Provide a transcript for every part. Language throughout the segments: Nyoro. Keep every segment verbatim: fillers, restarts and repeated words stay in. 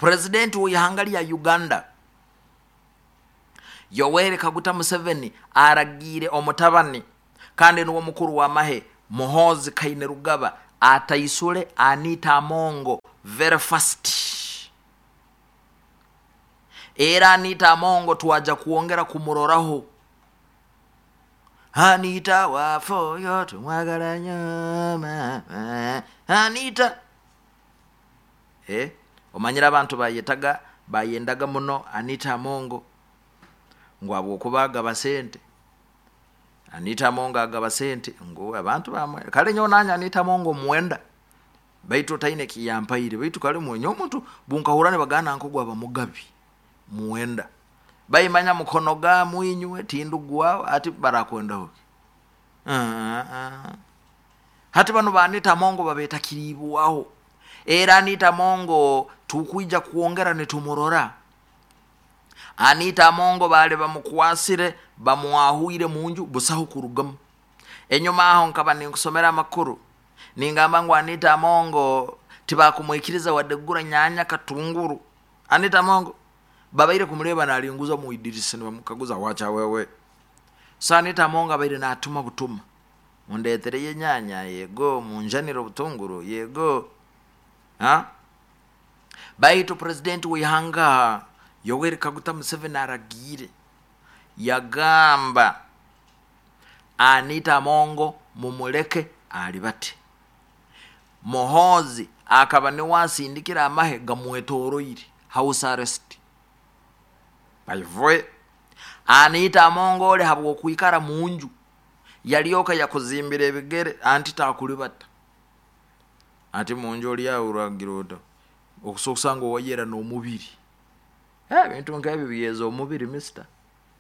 Purezidenti w'ihanga lya Uganda Yoweri Kaguta Museveni aragiire omutabani kandi niwe mukuru w'amahe Muhoozi Kainerugaba ataisule Anita Amongo very fast. Era Anita Amongo twaja kuongera kumuroraho. Anita wafoyo tumwagala nnyo mama Anita. Eh, omanyire abantu bayetaga bayendaga muno Anita Amongo ngu habwokuba agaba sente. Anita Amongo agaba sente ngu abantu bamwe kale nyowe nanye Anita Amongo mwenda baitu otaine kiyampaire baitu kale mwenye omuntu bunkahura nibagana nko gwaba mugabi mwenda baimanya mukono ga mwinywe tindugwawo ati barakwendaho. Uh, uh. Hati bano ba Anita Amongo babetakiribwaho. Era Anita Amongo tukwija kuongera nitumurora. Anita Amongo bale bamukwasire bamwahuire munju busaho kurugamu. Enyuma aho nkaba ninkusomera amakuru ningamba ngu Anita Amongo tibakumwikiriza wadde kugura nyanya katunguru. Anita Amongo babaire kumureba nalinguza mu idirisa nibamukaguza wacha wewe. So Anita Amongo abaire natuma butuma, mundetereye nyanya yego, munjanire obutunguru yego. Ha? Baitu president w'ihanga Yoweri Kaguta Museveni aragiire yagamba Anita Amongo mumuleke alibate. Muhoozi akaba niwe asindikira amahe gamwetoroire house arrest. Baivwe Anita Amongo ole habwokwikara munju yalyoka yakuzimbira ebigere anti takulibata. Ati munju oli awo uragira ota okusokusanga owayera n'omubiri. Eh, ebintu nk'ebyo byeza omubiri mister.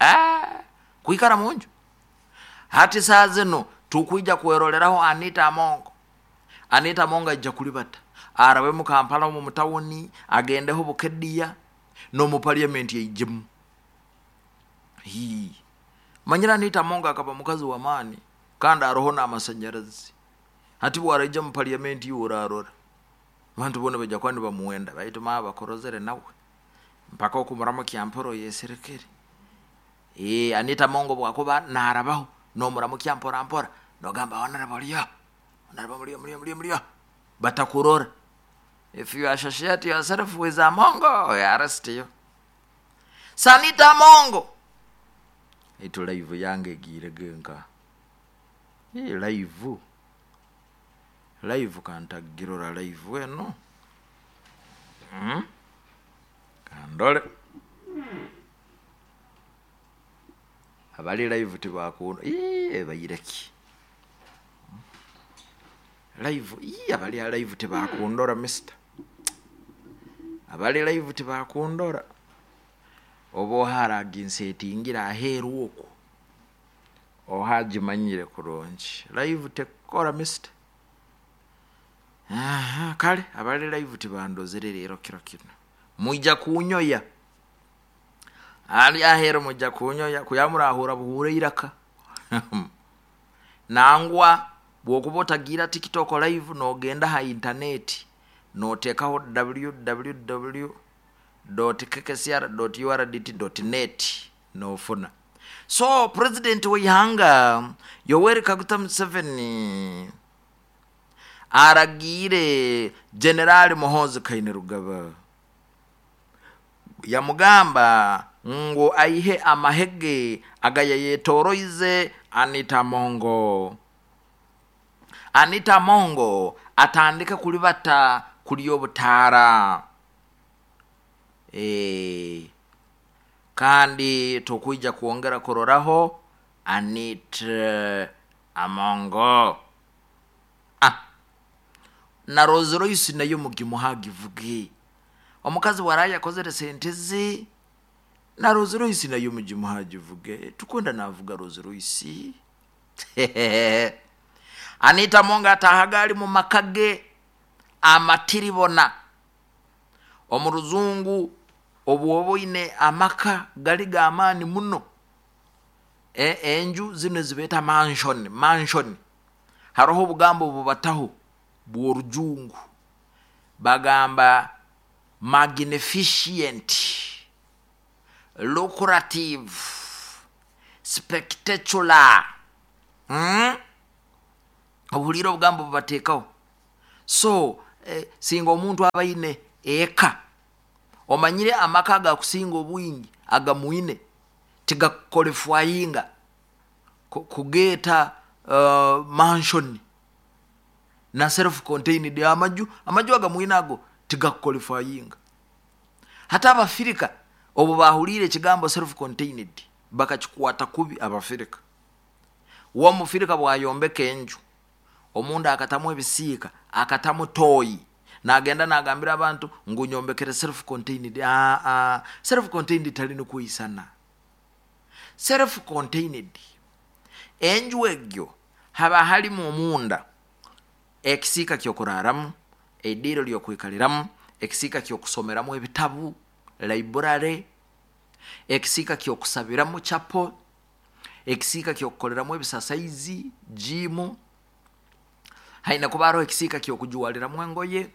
Ah, kwikara munju. Hati saa zino tukwija kweroleraho Anita Amongo. Anita Amongo ajja kulibata arabe mu Kampala mu mutawuni agendeho Bukedea n'omu parliament yaijemu. Hii. Manyira Anita Amongo akaba mukazi wa maani kandi aroho n'amasanyarazi. Hati bwaraija mu parliament yorarora abantu bona bajja kuba nibamuwenda baitu maa bakorozere nawe mpaka okumuramo kyamporo yeserekere. Eh, Anita Amongo bwakuba narabaho nomuramu kyampora mpora nogamba honorable lyo honorable mulio mulio mulio mulio batakurora. If you associate yourself with Amongo, we arrest you. Sanita Amongo itu live yange egire genka. Eh, live live kantagirora live eno. Mm? Kandole abali live tibakuno. Ii bayireki live. Ii abali live tibakundora mister. Abali live tibakundora obo haraginsetingira aheru okwo ohagimanyire kurungi live tekora mister. Aha, kale abali live tibandozere rero kiro kino mwijja kunyoya ali ahero mujja kunyoya kuyamurahura buhure iraka. Nangwa bwokuba otagira TikTok live nogenda ha internet notekaho w w w dot k k c r dot u r d t dot net nofuna. So president w'ihanga Yoweri Kaguta Museveni aragiire General Muhoozi Kainerugaba yamugamba ngu aihe amahege agayayetoroize Anita Amongo. Anita Amongo atandike kulibata kuli obutaara. E, kandi tukwija kuongera kuroraho Anita Amongo. Ah, na Rolls Royce nayo mugimuhagivuge omukazi waraye akozere sente ze na Rolls Royce nayo mugimuhagivuge tukwenda navuga Rolls Royce. Anita Amongo atahaga ali mu makage amatiribona omu ruzungu obwoboine amaka gali g'amaani muno. E, enju zino zibeeta mansion, mansion. Haroho obugambo bubataho bw'orujungu bagamba Magnificent, lucrative, spectacular. Hmm? Obuhulire obugambo bubateekaho. So eh, singa omuntu abaine eka, omanyire amaka agakusinga obwingi agamwine tigakuqualifyinga kugeeta uh, mansion na self contained. Amaju amaju agamwine ago tigakuqualifyinga. Hati Abafirika obu bahuliire ekigambo self contained bakakikwata kubi. Abafirika, womufirika bwayombeka enju, omunda akatamu ebisiika, akatamu toyi, nagenda nagambira abantu ngu nyombekere self contained. Aa, self contained tali nikwisana. Self contained enju egyo haba halimu omunda ekisiika kyokuraramu, ediiro lyokwikaliramu, ekisiika kyokusomeramu ebitabu, library, ekisiika kyokusabiramu, chapel, ekisiika kyokukoleramu ebisasaizi, gym, haina kuba haroho ekisiika kyokujwaliramu engoye,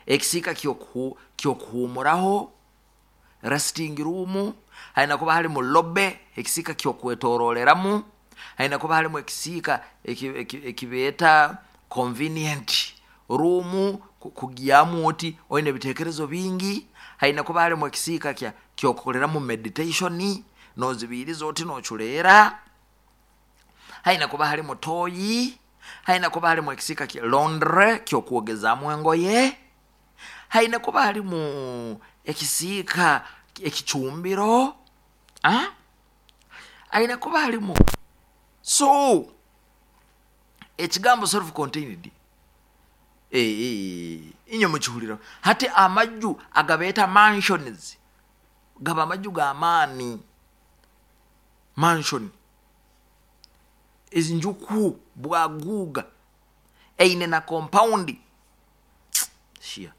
ekisiika kyokuhumuraho, resting room, haina kuba halimu lobby, ekisiika kyokwetoroleramu, haina kuba halimu ekisiika ekibeeta convenient room, kugyamu oti oine ebitekerezo bingi, haina kuba halimu ekisiika kyokukoleramu meditation, nozibiiriza oti noculeera, haina kuba halimu toyi, haina kuba halimu ekisiika laundry kyokwogezaamu engoye, haina kuba halimu ekisiika ekicumbiro, haina kuba halimu. So ekigambo self contained inywe mukihulira. Hati amaju agabeeta mansions gaba amaju g'amaani. Mansion enjuku bwaguuga eine na compound shia,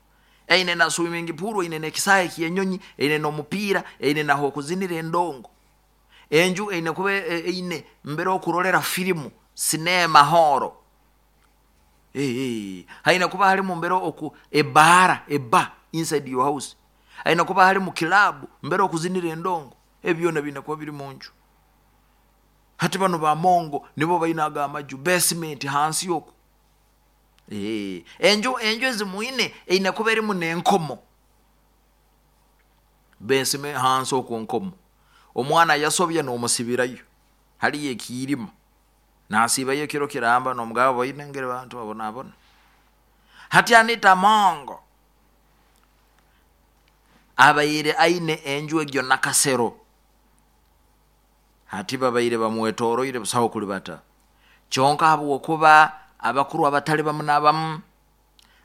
eine na swimming pool, eine nekisaahe kyenyonyi, eine n'omupiira, eine naho okuzinira endongo. Enju eine kuba eine mbere okurolera firimu, sinema hall, haina kuba halimu mbere oku ebaara, eba inside your house, haina kuba halimu club mbere okuzinira endongo. Ebyo byona biine kuba biri munju. Hati bano bamongo nibo baine aga amaju, basement hansi oku. Enju enju ezimwine eine kuba erimu n'enkomo, basement hansi oku, nkomo, omwana yasobya n'omusibirayo haliyo ekiirima, nasiibayo ekiro kiramba nomugabo baine engeri bantu babonabona. Hati Anita Amongo abaire aine enju egyo Nakasero. Hati babaire bamwetoroire busaho kulibata, kyonka habwokuba abakuru abatali bamu nabamu,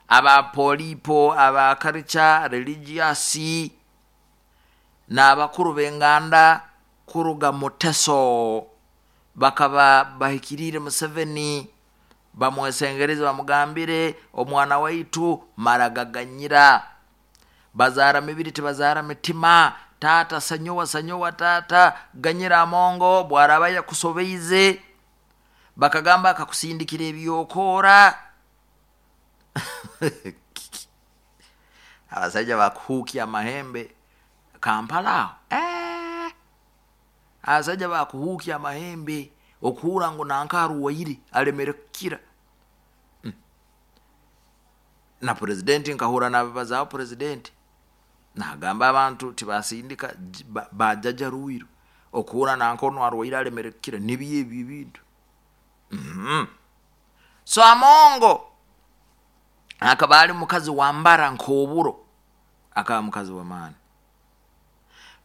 aba polipo, aba culture religious n'abakuru b'enganda kuruga Muteso bakaba bahikiriire Museveni, bamwesengereze, bamugambire omwana waitu maragaganyira, bazaara mibiri tibazaara mitima, taata sanyowa sanyowa, taata ganyira Amongo bwaraba yakusobeize. Bakagamba akakusindikira ebyokoora. Abasaija bakuhuukya amahembe Kampala aho, eh! Abasaija bakuhuukya amahembe okuhura ngu nanka arwaire alemere kukira. Mm. Na purezidenti nkahura nababazaaho, purezidenti nagamba abantu tibasindika bajaja rwiro okuhura nanka onu arwaire alemere kukira, nibyo ebyo ebintu. Mm-hmm. So Amongo akaba ali mukazi wambara nk'oburo, akaba mukazi w'amaani,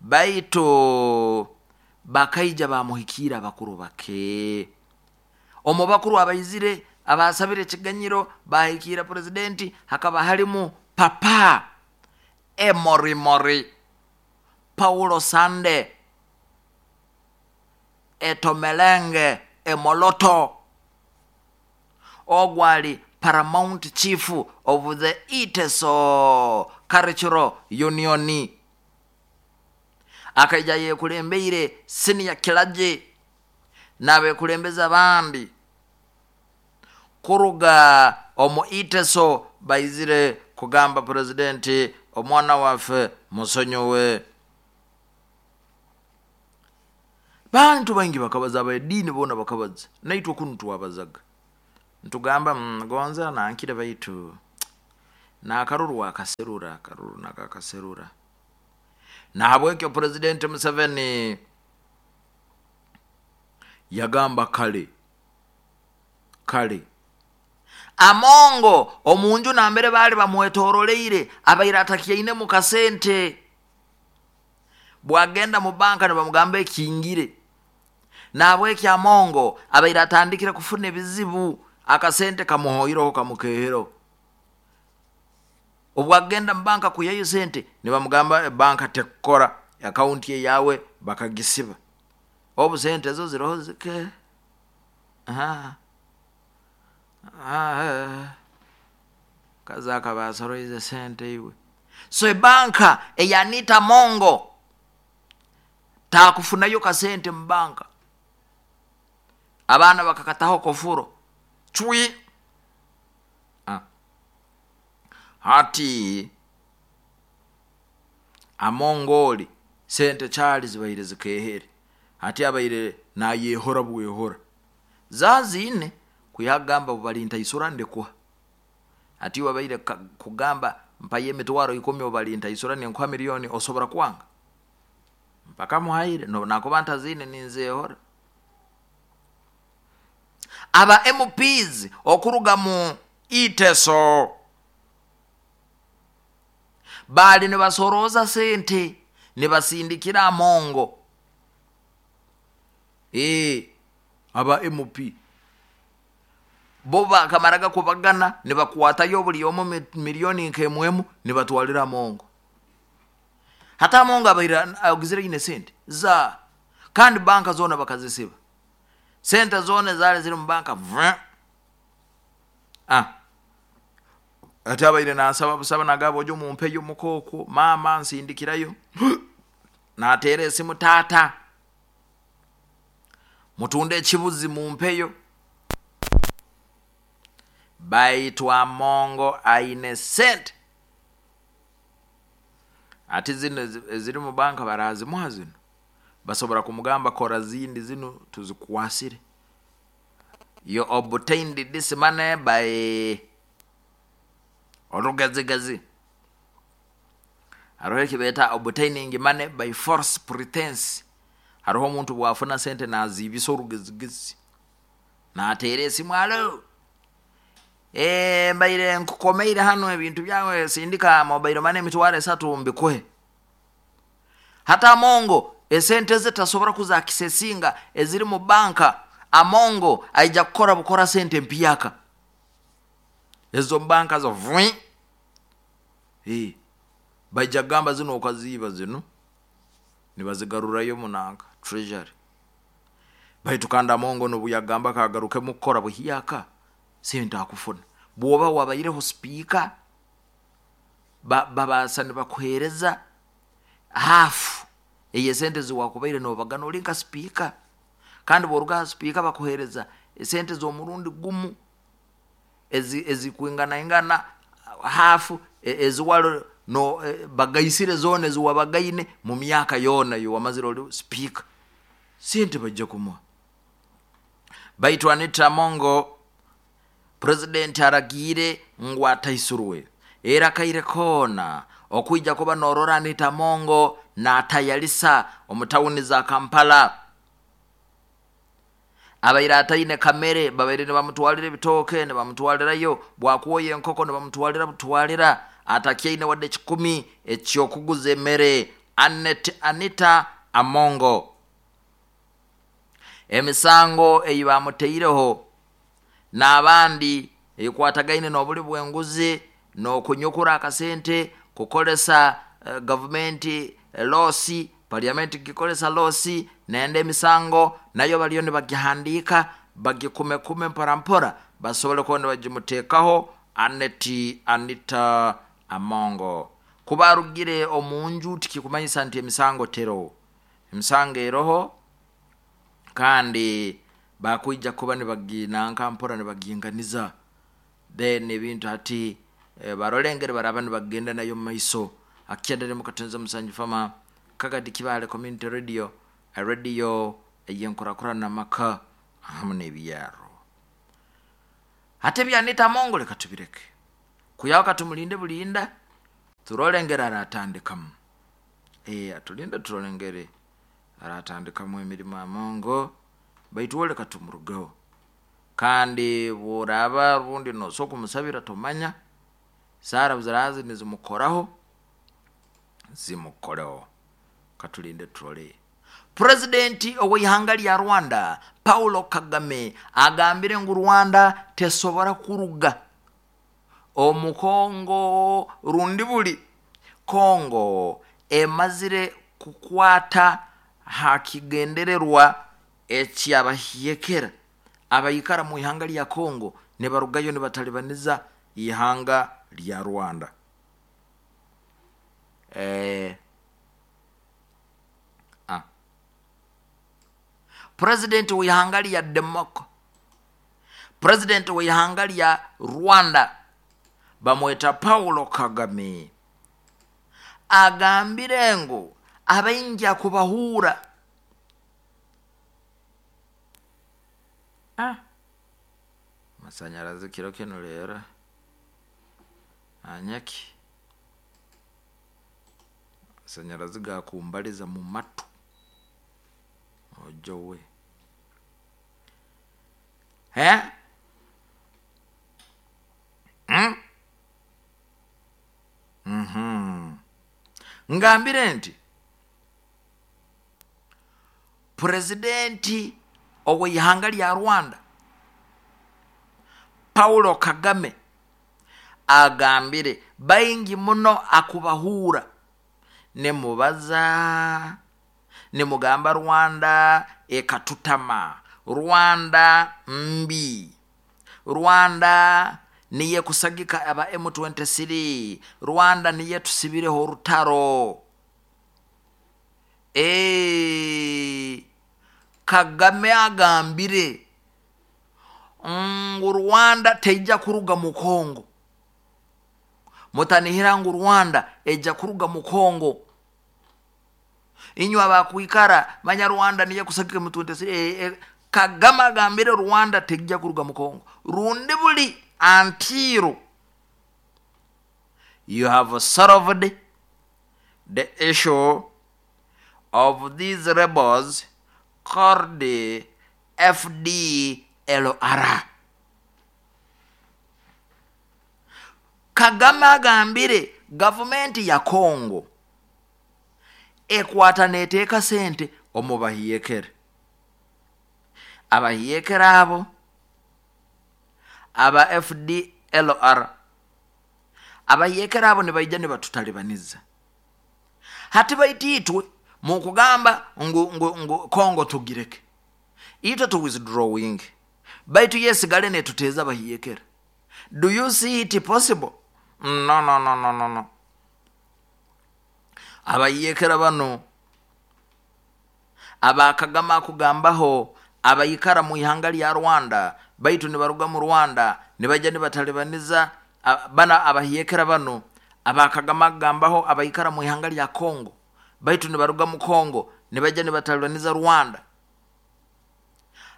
baitu bakaija bamuhikiira abakuru bake. Omu bakuru abaizire abasabire ekiganyiro bahikiira purezidenti hakaba halimu Papa Emorimori Paulo Sande Etomelenge Emoloto, ogwo ali paramount chief of the Iteso Cultural Union, akaija yekulembeire senior clergy n'abekulembeza abandi kuruga omu Iteso, baizire kugamba purezidenti Omwana waffe musonyiwe. Bantu baingi bakabaza, abadiini boona bakabaza, naitwe kunu twabazaga ntugamba gonza nankire, baitu nakaruru akaserura akaruru nakakaserura. Nahabwekyo Purezidenti Museveni yagamba kale kale Amongo omunju nambere baali bamwetoroleire abaire atakyainemu kasente, bwagenda mu banka nibamugamba ekingire. Nahabwekyo Amongo abaire atandikire kufuna ebizibu, akasente kamuhoireho kamukehereho. Obwagenda mu banka kwihayo sente nibamugamba banka tekukora, akaunti eyawe bakagisiba, obu sente zo ziroho zike. Kazi akaba asoroize sente iwe. So ebanka eya Anita Amongo takufunayo kasente mu banka, abaana bakakataho kofuro cwi. Ah. Hati Amongoli sente kyali zibaire zikehere, hati abaire nayehora bwehora zaziine kuyagamba bali ntaisura ndikuha. Hati wabaire kugamba mpayo emitwaro ikumi obali ntaisura ninkuha milioni, osobora kwanga mpaka muhaire nakuba ntaziine ninzehora. Aba M Ps okuruga mu Iteso bali nibasoroza sente nibasindikira Amongo. E, aba M P bo bakamaraga kubagana nibakwatayo buli omu milioni nkemwemu nibatwalira Amongo. Hata Amongo abaire agizire ine sente za kandi banka zona bakazisiba, sente zona zali ziri mu banka. Ah, ate abaire nasaba busaba nagabo ojo mumpeyo mukoko mama nsindikirayo nateera esimu tata mutunde ekibuzi mumpeyo. Baitu Amongo aine sente ati zino eziri mu banka barazimuha zino, basobora kumugamba kora zindi zino tuzikwasire. You obtained this money by orugazigazi. Hariho ekibeta obtaining money by false pretense. Hariho omuntu bwafuna sente nazibisa orugezigezi, nateera esimu alo e, mbaire nkukomeire hano ebintu byawe sindika mobile money emitwaro esatu mbikuhe. Hata Amongo esente ze tasobora kuzakisesinga eziri mu banka. Amongo aija kukora bukora sente mpyaka ezo banka zo vwi eh baija gamba zino okaziba zino nibazigarurayo munanka treasury. Baitu kandi Amongo nobuyagamba kagaruke mukora buhyaka sente akufuna. Bwoba wabaireho speaker ba, babasa nibakuhereza hafu eye sente ziwakubaire nobagana oli nka speaker, kandi boruga speaker bakuhereza sente z'omurundi gumu ezi ezikwingana ingana hafu eziwalo no bagaisire zone ziwabagaine mu myaka yona yo wamazire oli speaker, sente bajja kumuha. Baitu Anita Amongo president aragiire ngu ataisurwe era kaire kona okuija kuba norora Anita Amongo natayalisa omutawuni za Kampala. Abaire ataine kamere babaire nibamutwalira ebitooke nibamutwalirayo, bwakwoya enkoko nibamutwalira butwalira, atakyaine wadde kikumi ekyokuguza emere. Anet Anita Amongo emisango eyibamuteireho n'abandi ekwatagaine n'obuli bw'enguzi n'okunyukura akasente kukolesa uh, gavumenti losi parliament gikolesa losi nende emisango nayo baliyo nibagihandika bagikumekume mpora mpora basobole kuba nibagimutekaho Aneti Anita Amongo. Kuba arugire omunju tikikumanyisa nti emisango tero, emisango eroho kandi bakuija kuba nibaginanka mpora nibaginganiza. Then ebintu hati e, barolengere baraba nibagenda nayo maiso. Akyendere mukatenza musanju fama Kagadi Kibale Community Radio, radio eyenkurakurana maka hamu n'ebyaro. Ate bya Anita Amongo leka tubireke, kuyaka tumulinde bulinda turolengere aratandikamu. Eh, atulinde turolengere aratandikamu emirimo Amongo, baitu wo leka tumurugeho. Kandi bworaba rundi nosoka kumusabira tomanya sara zirazi nizimukoraho zimukoreho, katulinde turole. Presidenti ow'ihanga lya Rwanda Paulo Kagame agambire ngu Rwanda tesobora kuruga omukongo rundi buli Kongo emazire kukwata hakigendererwa ekyabahiyekera abayikara mu ihanga lya Kongo nebarugayo nibatalibaniza ihanga lya Rwanda. Eh, ah. President w'ihanga lya Demoko, President w'ihanga lya Rwanda bamweta Paulo Kagame agambire ngu abaingi kubahura. Ah. Masanyarazi kiro kino lero anyaki masanyarazi gakumbaliza mu matu ojowe he mm? Mhm. Ngambire nti presidenti ow'ihanga lya Rwanda Paulo Kagame agambire baingi muno akubahura nemubaza nemugamba Rwanda ekatutama, Rwanda mbi, Rwanda niye kusagika aba M twenty-three, Rwanda niye tusibireho orutaro. E Kagame agambire ngu Rwanda teija kuruga mu Kongo, mutanihira ngu Rwanda eja kuruga mu Kongo. Inywe abakwikara manya Rwanda niye kusagika M twenty-three. E, e, Kagame agambire Rwanda teija kuruga mu Kongo rundi buli until you have solved the issue of these rebels called the F D L R. Kagame agambire gavumenti ya Kongo ekwata neteeka sente omubahiyekere, abahiyekere abo aba F D L R, abahiyekere abo nibaija nibatutalibaniza. Hati baititwe mukugamba ngu, ngu, ngu Kongo tugireke itwe tu withdrawing, baitu yesigale netuteza abahiyekere. Do you see it possible? No, no, no, no, no, no. Abayekera bano abakagama kugambaho abayikara mu ihanga lya Rwanda baitu nibaruga mu Rwanda nibaja nibatalibaniza bana abahiyekera bano abakagama kugambaho abayikara mu ihanga lya Kongo baitu nibaruga mu Kongo nibaja nibatalibaniza Rwanda.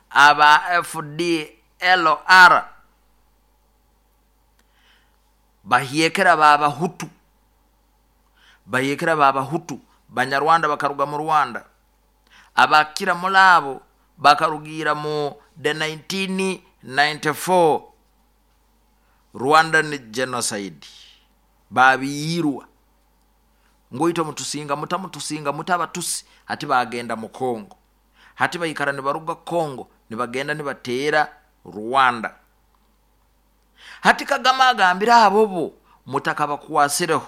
Aba F D L R bahiyekera baba Hutu, bahiyekera baba Hutu Banyarwanda bakaruga mu Rwanda, abakira mulabo bakarugira mu the nineteen ninety-four Rwandan genocide babiyirwa ngoito mutusinga mutamutusinga mutabatusi hati bagenda mu Kongo, hati bayikara nibaruga Kongo nibagenda nibatera Rwanda. Hati Kagame agambira abobo mutakabakwasireho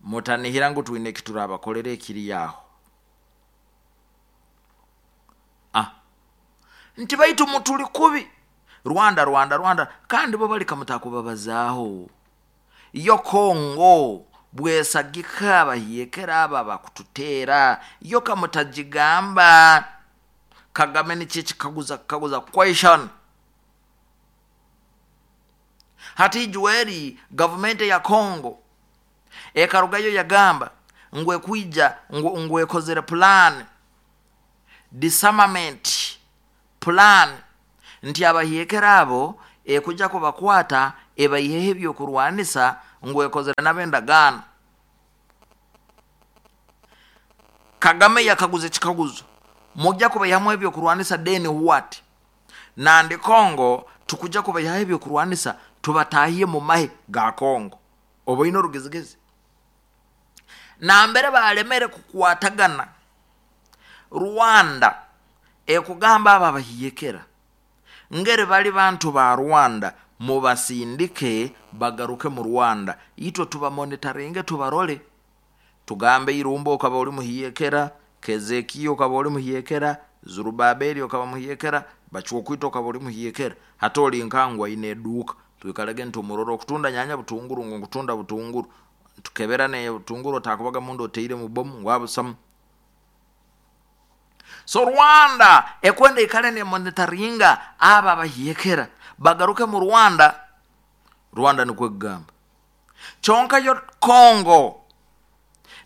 mutanihira ngu twine kiturabakolere ekiri yaho. Ah, nti baitu mutuli kubi Rwanda Rwanda Rwanda kandi bo balika mutakubabazaaho yo Kongo bwesagika abahiyekera aba bakututera yo kamutagigamba. Kagame ni kikaguza kaguza question. Hati juweri government ya Kongo Ekarugayo yagamba ngu ekwija ngu, ngu ekozere plan, disarmament plan, nti abahiekera abo ekuja kubakwata ebaiheho ebyokurwanisa, ngu ekozere nab'endagaano. Kagame yakaguza ekikaguzo, mujja kubaihamu ebyokurwanisa then what? Nandi Kongo tukuja kubaihaho ebyokurwanisa tubatahiye mu mahe ga Kongo. Oboine orugezigezi nambere balemere kukwatagana. Rwanda ekugamba aba abahiyekera ngeri bali bantu ba Rwanda, mubasindike bagaruke mu Rwanda, itwe tubamonitaringe tubarole. Tugambe Irumba okaba oli muhiyekera, Kezekiya okaba oli muhiyekera, Zurubabeli okaba muhiyekera, Bachwokwita okaba oli muhiyekera. Hata oli nkangwa ine eduka twikalege ntumuroro okutunda nyanya butunguru, ngu nkutunda butunguru, tukebera ne butunguru otakubaga mundu oteire mu bomu ngu abusamu. So Rwanda ekwenda ikale ne monitoringa aba bahiyekera bagaruke mu Rwanda. Rwanda nikwo kugamba. Kyonka yo Kongo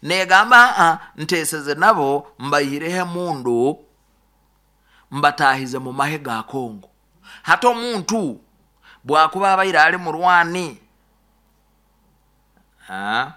negamba a nteseze nabo mbayireho emundu mbatahize mu mahe ga Kongo. Hata omuntu bwakuba abaire ali murwani, ah,